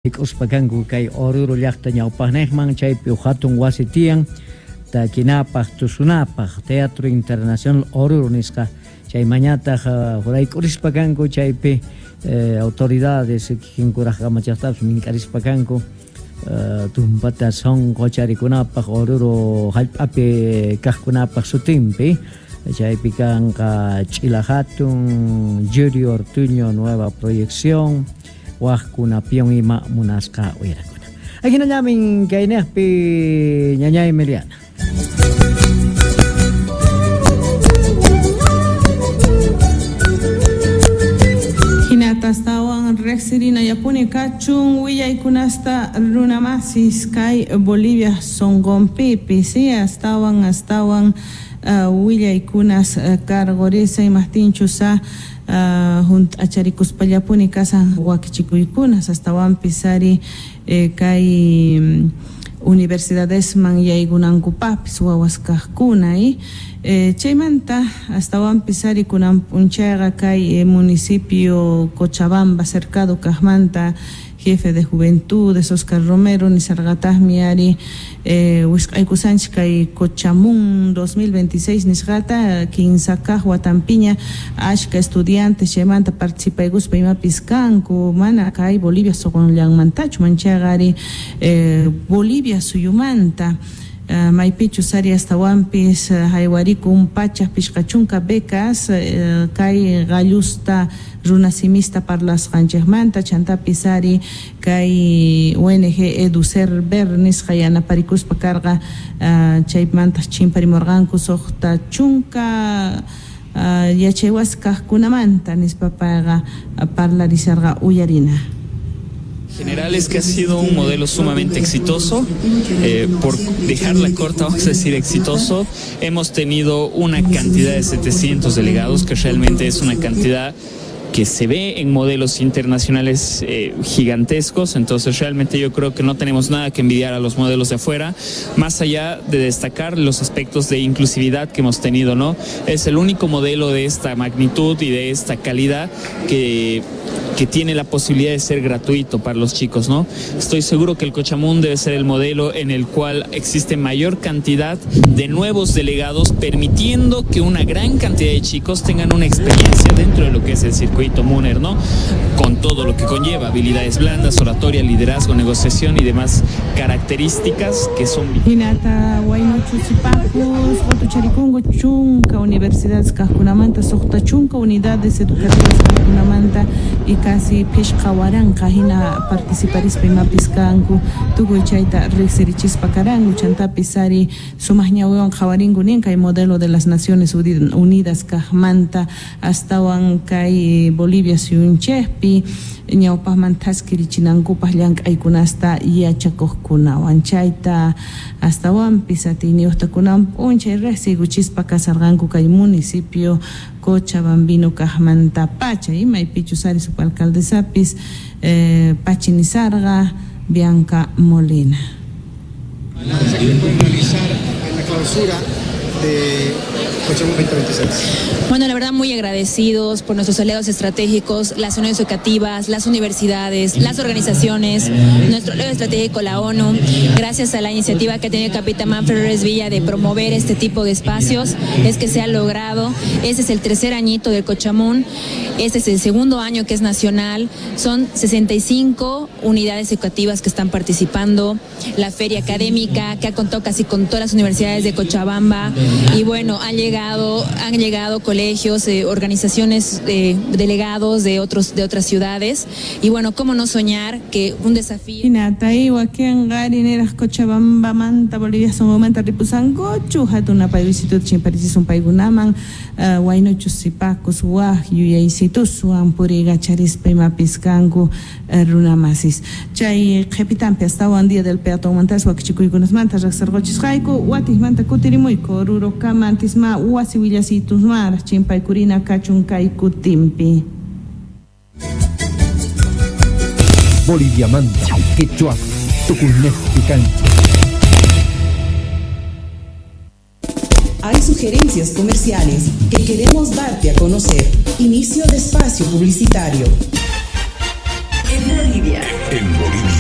Ik'uspa kanku kay Oruro llaqta ñawpaqniqman, chaypi uj hatun wasi tiyan takinapaq, tusunapaq, Teatro Internacional Oruro nisqa, chay mañataq jurayk'urispa kanku chaypi autoridades kikin kuraj kamachejtapis mink'arispa kanku tumpata sonqocharikunapaq Oruro hallp'api kaqkunapaq sutinpi. Chaypi kanqa Ch'ila Hatun, Yuri Ortuño Nueva Proyección, wajkunapiwan ima munasqa uyarakuna. Ajinallamin kaynejpi ñañay Meliana. Hinata astawan riqsirinayapuni kachun willaykunasta runamasis kay Bolivia sonqonpipis, astawan astawan willaykunas karqurisa imajtinchus hunt'acharikuspallapuni kasan wakichikuykunas astawanpis ari kay universidadesman yaykunankupaqpis wawas kaqkuna chaymanta astawanpis ari kunan p'unchayqa kay municipio Cochabamba cercado kaqmanta jefe de juventudes Oscar Romero nisarqataqmi ari wisq'aykusanchik kay Cochamún 2026 nisqata kinsa kaq watanpiña ashka estudiantes chaymanta participaykuspa imapis kanku mana kay Bolivia suqunllanmantachu manchayqa ari Bolivia suyumanta maypichus ari astawanpis haywarikun pachak pishqa chunka becas kay qallusta runasimista parlasqanchikmanta chantapis ari kay ONG Eduser Ver nisqa yanaparikuspa karqa chaymanta chimparimurqanku suqta chunka yachaywasi kaqkunamanta nispa payqa parlarisharqa uyarina. General es que ha sido un modelo sumamente exitoso, por dejarla corta vamos a decir exitoso. Hemos tenido una cantidad de 700 delegados, que realmente es una cantidad que se ve en modelos internacionales gigantescos. Entonces realmente yo creo que no tenemos nada que envidiar a los modelos de afuera, más allá de destacar los aspectos de inclusividad que hemos tenido, ¿no? Es el único modelo de esta magnitud y de esta calidad que tiene la posibilidad de ser gratuito para los chicos, ¿no? Estoy seguro que el Cochamún debe ser el modelo en el cual existe mayor cantidad de nuevos delegados, permitiendo que una gran cantidad de chicos tengan una experiencia dentro de lo que es el circuito Muner, ¿no? Con todo lo que conlleva, habilidades blandas, oratoria, liderazgo, negociación y demás características que son... Hinata, Waynuchusipacus, Qotucharikungu, chunka universidades kaqkunamanta, suqta chunka unidades educativas kaqkunamanta y casi pishqa waranqa hina participarispa imapis kanku tukuy chayta riqsirichispa karanku chantapis ari sumaq ñawiwan qhawarinku nin kay modelo de las Naciones Unidas kaqmanta astawan kay Bolivia suyunchikpi ñawpaqman thaskirichinankupaq llank'aykunasta yachakuqkunawan chayta astawanpis atiyniyuqta kunan p'unchay riqsiykuchispa kasarqanku kay municipio Cochabambino kaqmanta pacha imaypichus ari subalcaldesapis pachinisarqa Bianca Molina. Que pueden realizar en la clausura de Cochamún 2026. Bueno, la verdad muy agradecidos por nuestros aliados estratégicos, las unidades educativas, las universidades, las organizaciones, nuestro aliado estratégico, la ONU, gracias a la iniciativa que ha tenido el capitán Manfred Flores Villa de promover este tipo de espacios, es que se ha logrado. Este es el tercer añito del Cochamún, este es el segundo año que es nacional, son 65 unidades educativas que están participando, la feria académica que ha contado casi con todas las universidades de Cochabamba, y bueno, han llegado colegios, organizaciones, delegados de otras ciudades, y bueno, cómo no soñar que un desafío. Hinata wakin qarineraq Cochabambamanta Bolivia sonqomanta ripusankuchu hatun apaywisituta chimparichisun paykunaman waynuchus sipacus waj yuyaysituswan puriykacharispa imapis kanku runamasis. Chay qhipitanpi astawan día del peatonmantas wakichikuykunasmanta riqsirquchisqayku watiqmanta kutirimuyku Orurokama antisma wasi willasitusmaraq chimpaykurina kachun kay kutinpi. Boliviamanta, Quechua, Tucunesti Cancha. Hay sugerencias comerciales que queremos darte a conocer. Inicio de espacio publicitario. En Bolivia. En Bolivia.